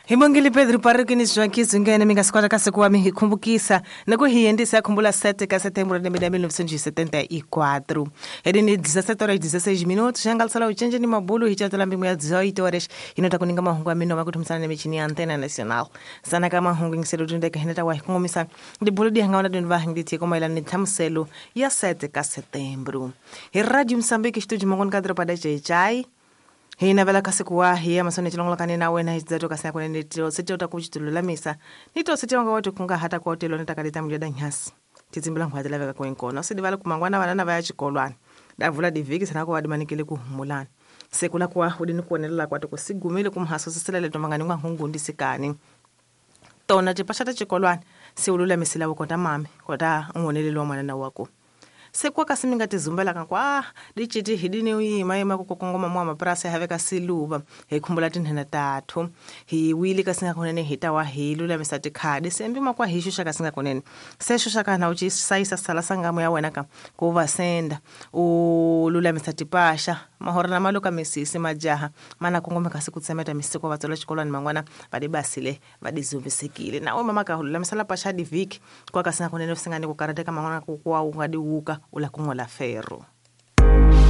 Hi bongile Pedro Pariki ni Joaquim Zungene mi nga swi kota kasi ku va mi hi khumbukisa ni ku hi endlisa khumbula 7 ka setembro lembe la 1974. Hedi ni 17 horas 16 minutos xa nga lisala ucenje ni mabulu hi catela mbingu ya 18 horas ino ta kuninga mahungu ya minoma ku thumisana ni michini ya Antena Nacional. Sana ka mahungu ngiselo tundeka hineta wa hi kongomisa dibulu di hanga wana dundu va hangiti ko maelana ni nhlamuselo ya 7 ka setembro. Hi Radio Mozambique xitudio mongoni ka doroba da Jai hi navela kasi ku wa hi ya masone chilongolokane na wena hi tidzato kasi akunene tose ta ku chitululamisa ni tose tionga wati kungahata kwa telo nitakaleta mujada nyasi titsimbila nkhwati laveka kwenkona usidi vala kumangwana vana na vaya chikolwana davula divhiki sana ku vadimanikele kuhumulana sekula kuwa udini kuonelela kwati kusigumile kumhaso sisilele tomangani ngwa hungundi sikani tona tipasha ta chikolwana siululamisela kota mame kota un'woneleli wa mwanana wako sekwa kasi mi nga tizumbelaka kwa diciti hidini yima yima ku kongoma mwa mapurasi haveka siluva hi khumbula tinhena tathu hi wili kasi nga kunene hi ta wa hi lulamisa tikhadi sembi makwa hi xuxa kasi nga kunene se xuxa ka na u ci sayisa sala sangamo ya wena ka ku va senda u lulamisa tipaxa mahora na maluka misisi majaha mana kongome kasi ku tsemeta misiko va tswela xikolwani man'wana va di basile va di zumbisekile na we mama ka lulamisela paxa divhiki kwa kasi nga kunene swi nga ni ku karhateka man'wana ku kuwa u nga di wuka u la ku n'wela ferro.